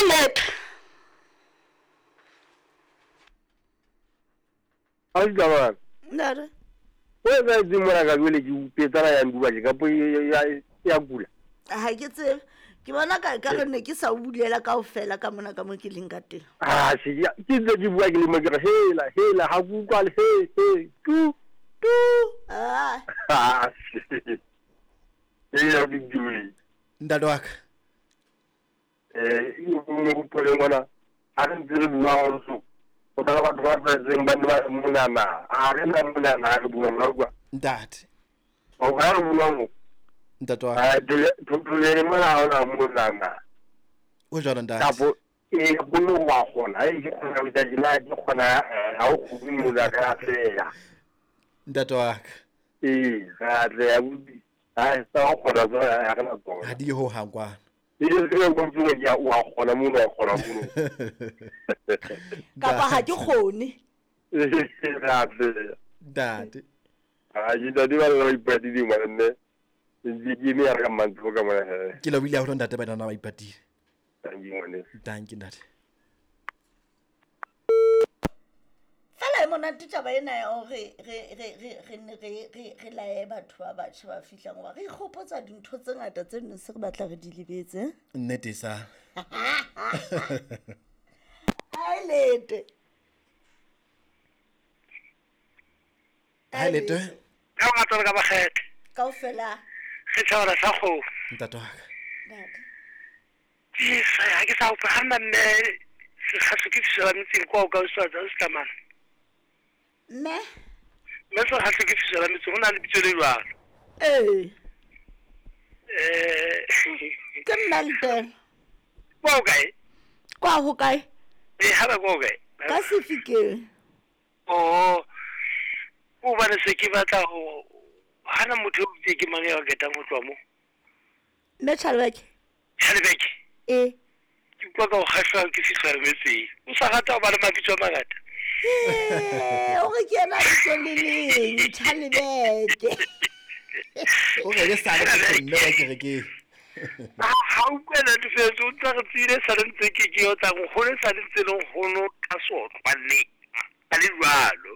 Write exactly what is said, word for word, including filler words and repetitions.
Lete. A di tsamaya. Nare. O etsa etseng mona ka jwale ke upetsana ya nduba ke kapo ya ya kula. Ha ke tsebe. Ke bona ka ka re ne ke sa o bulela kaofela ka mona ka mo ke leng ka teng. Ah, se ke ke ntse ke bua ke le mo ke re hela hela ha ke utlwa le he he tu Tu. Ah. ah. Ee, ke dule. Ntate wa ka. Eh, mo gopole ngwana ha re ntse re bua go so. O tla batho ba tlwaetseng ba ne ba re monana. A re na monana ha re bua nna utlwa. Ntate. O ka re bua mo. Ntate wa ka. Ah, tole tole mona ha ona monana. O jwalo ntate. Kapo e bono wa kgona, e ke kgona ho etsa tjena, ke kgona eh, ha o kgone mona ka atleha. Ntate wa ka. Ee, ra atleha abuti. Ha sa o kgona tsona ha re na tsona. Ha di ho hang kwana. E ke ke go tsoga ke a wa kgona mono wa kgona mono. Kapa ha ke kgone. Ra atleha. Ntate. Ha ke ntate ba le ba ipatile ngwana nne. Ntse ke eme ya re ka mantlo ka mona he. Ke lebohile haholo ntate ba nana ba ipatile. Thank you ngwaneso. Thank you ntate. Fela e monate taba ena ya hore re re re re ne re re re laye batho ba batjha ba fihlang hoba re ikgopotsa dintho tse ngata tse neng se re batla re di lebetse. Nnete sa. Ai Lete. Hi Lete. Ka ngata ka bakgethe. Kaofela. Re tshwara sa kgomo. Ntate wa ka. Ntate. Ke sa ha ke sa utlwa ha nna mme sekgaso ke fisola metseng kwa o ka o swatsa o se Mme. Mme sekgaso ke fisola metseng ho na le bitso le jwalo. Ee. Eh. Ke mme Letela. Kwa o kae? Kwa ho kae? Eh, ha ba kwa o kae? Ka Sefikeng. Oh. O bane se ke batla ho hana motho o bitse ke mang ya ketang ho tloha mo. Mme Chalebeke. Chalebeke. Eh. Ke utlwa ka ho kgahlwa ke fisola metseng. O sa rata ho ba le mabitso a mangata. Eh, o re ke yena bitso le leng, Chalebeke. O re ke sa le ke mme wa kerekeng. Ha ha utlwela difetso o tla re tsile sa le ntse ke ke o tla nkgono sa le ntse le nkgono ka sotlwa le a le jwalo.